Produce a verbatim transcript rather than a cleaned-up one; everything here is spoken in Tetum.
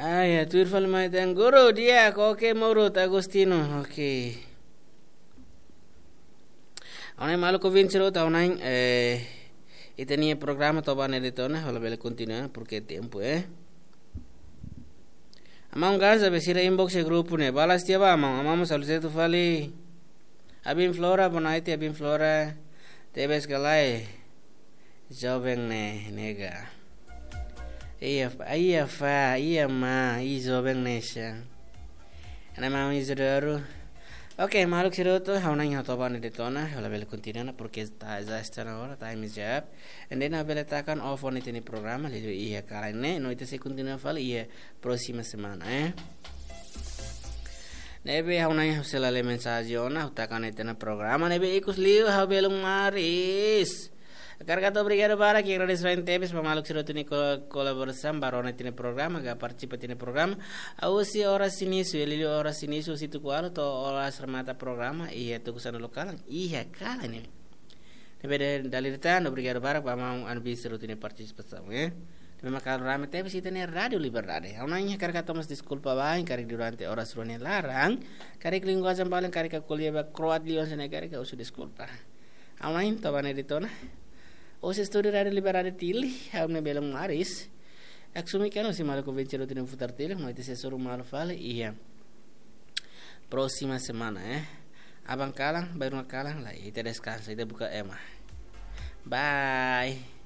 Ah, ya, tuir fali mai tan guru dia, oke, Maurut Agustino, oke. Ha'u-nia maluk ouvinte sira hotu, ha'u-nia, eh, ita-nia programa to'o ba ne'e de'it ona, ha'u labele kontinua, porque tempu, eh. Amang Gaza, be sira inbox iha grupu ne'e, balas tiha ba, amang, amang mós halo sira hotu fali. Abin Flora, boa noite, Abin Flora. Tebes ka lae. Joven ne'e, nega. Iya, fa, iya, fa, iya, ma, i joven ne'e sá. Ana mami Isidoro. Oke, maluk sira hotu, ha'u-nia ha'u to'o ba ne'e de'it ona, ha'u labele kontinua, porque está, já está na hora, time is up. And then ha'u bele taka off ona ita-nia programa, liuliu iha kalan ne'e, no ita sei kontinua fali iha próxima semana, eh. Ne'ebé ha'u-nia ha'u sei la lee mensajen ona, ha'u taka ona ita-nia programa, ne'ebé ikus liu ha'u belun maris. Hakarak hato'o obrigadu barak, agradese tebes ba maluk sira hotu nia ko-, kolaborasaun, ba rona ita-nia programa, ka partisipa ita-nia programa. Husi oras inísiu, liuliu oras inísiu, husi tuku ualu to'o oras remata programa, iha tuku sanulu kalan, iha kalan ne'e. Ne'ebé dala ida tan, obrigadu barak ba amang Anbi sira hotu nia partisipasaun, eh. Ne'ebé mak kalan rame tebes ita-nia Rádiu Liberdade. Ha'u-nia hakarak hato'o mós deskulpa ba, karik durante oras rua nia laran, karik linguajen balu karik ko'alia ba kroat liu hanesan ne'e, karik husu deskulpa. Ha'u-nia to'o ba ne'e de'it ona. Husi estúdiu Rádiu Liberdade Dili, ha'u-nia belun maris. Aksumi keno si maluk ouvinte sira hotu nia futar tiha, no ita sei hasoru malu fali iha próxima semana, eh. Aban kalan, bainrua kalan, lae, ita deskansa, ita buka ema. Bye.